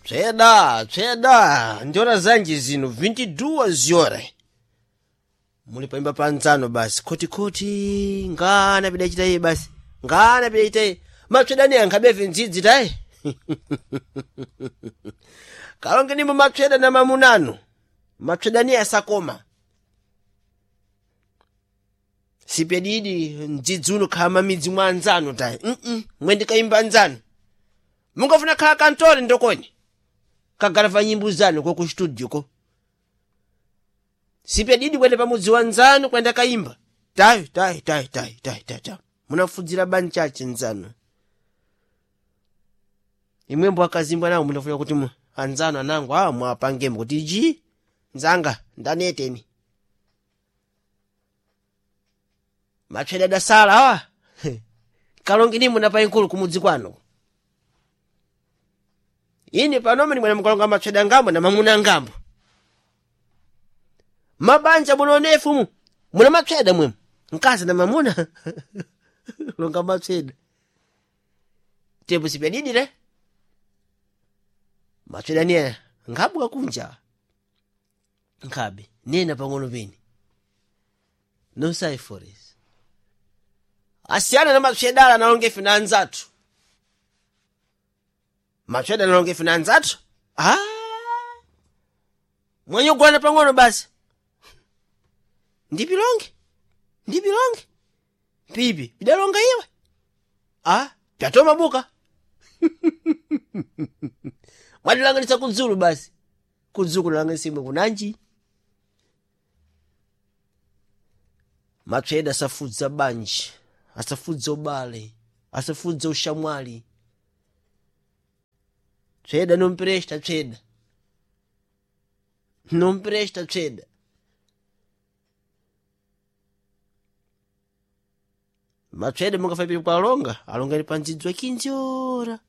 Tsweda, tsweda, ndiora zanji zino 22 horas. Muli paimba panzano basi khotikhoti ngana pidachita iye basi ngana pidachita iye matswedani ankhabefe ndzidzi tayi kalonge nimbo matsweda na mamunano matswedani asakoma sipedidi mdzidzi uno khala mamidzi mwa anzanu tayi mm mwendikaimba anzanu mungafuna khala kantore ndokoni kagarava nyimbo zanu ko ku studio ko sipedidi kwenda pamudzi wa nzanu kwenda kaimba tayi tayi tayi tayi tayi tayi tayi munafudzira banchache nzanu imwembo akazimbwa nawo munafuna kuti anzanu anango awa mwapangembo kuti ji nzanga ndaneteni matsweda adasala awa kalonge nimwe napayinkulu kumudzi kwanu ine panome nimwena mukalonga matsweda ngambo na mamuna ngambo mabanja munonefu mu muna matsweda mwemu mkazi na mamuna longa matsweda tepo sipyadidire matsweda niye nkhabuka kunja nkhabe nena pang'ono peni nosaiforesi asiyana na matswedala analonga ife na anzathu matsweda analonga ife na anzathu ah mwanyogwana pang'ono basi ndipilonge ndipilonge pipi pidalonga iwe ah pyatoma buka mwatilanganisa kudzulu basi kudzulu kulanganisimwe kunanji matsweda asafudza banji asafudza ubale asafudza ushamwali tsweda nompresta tsweda nompresta tsweda matswede mungafapiri kualonga alongani pa ndzidzo 15 ora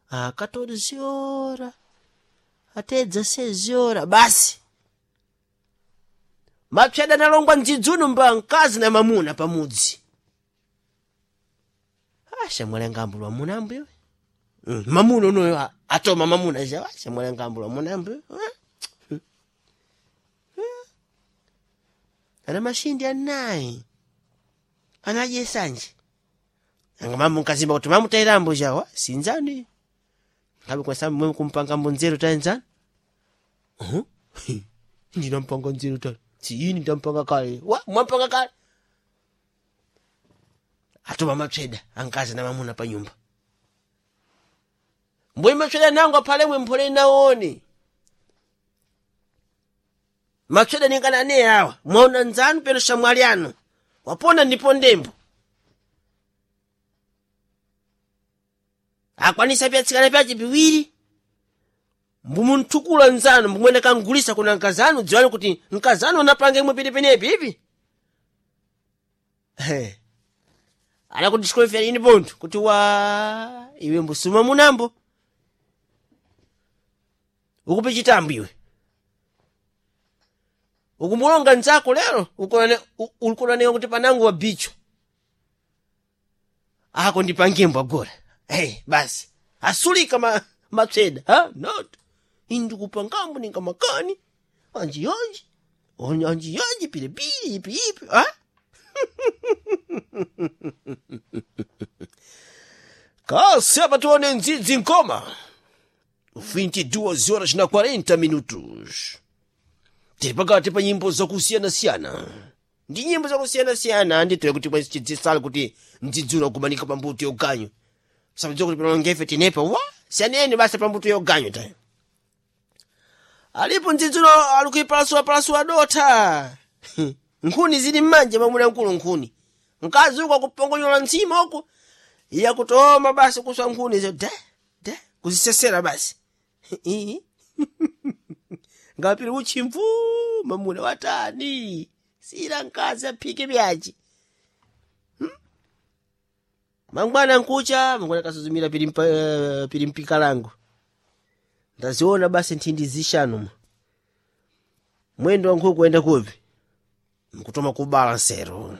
a 14 ora até 16 ora basi matswede analongwa mdzidzuno mba mkazi na mamuna pamudzi ashamwali angambulwa mamuna ambuyo mamuna unoyo atoma mamuna ja ashamwali angambulwa mamuna ambuyo ana mashindi anayi anadye sanje anga mamu nkazimba kuti mamutairambo jawa sinzani ngabe kwasa mwe kumpanga mbonzero taenzani uh ndinampanga nzero tani siyini ndampanga kale wa mwampanga kale atoma matsweda ankazi na mamuna pa nyumba mbwe matsweda nango aphalemwe mphole naone matsweda ningana ne awa mwaona nzanu peno shamwali anu wapona ndipo ndembo akwanisa pyatsikana pyace piwiri mbumunthukula nzanu mbumwene kangulisa kuna nkazanu dziwani kuti nkazanu anapanga imwe pilipenepi ipi anakuti ini pontho kuti wa iwe mbusuma munambo ukupe chitambo iwe ukumulonga nzako lero ulikunaneka kuti panangu wabicho ako ndipangembo agora hey, basi asulika matsweda ha not indikupangambo ninga makani anjiyonji anjiyonji pilipili ipi ipi ha kasi apa tione ndzidzi nkoma 22 horas na 40 minutos tiri pakati pa nyimbo zakusiyanasiyana ndi nyimbo zakusiyanasiyana nditire kuti bwezi chidzisala kuti mdzidzulo kumanika pambuto yoganyu sapadziwa kuti panongefe tinepa wa siyaneni basa pambuto yoganyu ta alipo mdzidzulo alikuipalasulapalasula dotha nkhuni zili mmanja mamuna mkulu nkhuni mkazi uko akupongonyola mtsima uku iye akutoma basi kuswa nkhuni zo da da kuzisesera basi ngapiri uchimvu mamuna watani sila mkazi aphike byaji mangwana nkucha mangwana kasuzumira pili mpika langu ndaziona basi nthindi zishanu mwendo wa nkhuku kuenda kupi mkutoma kubala nsero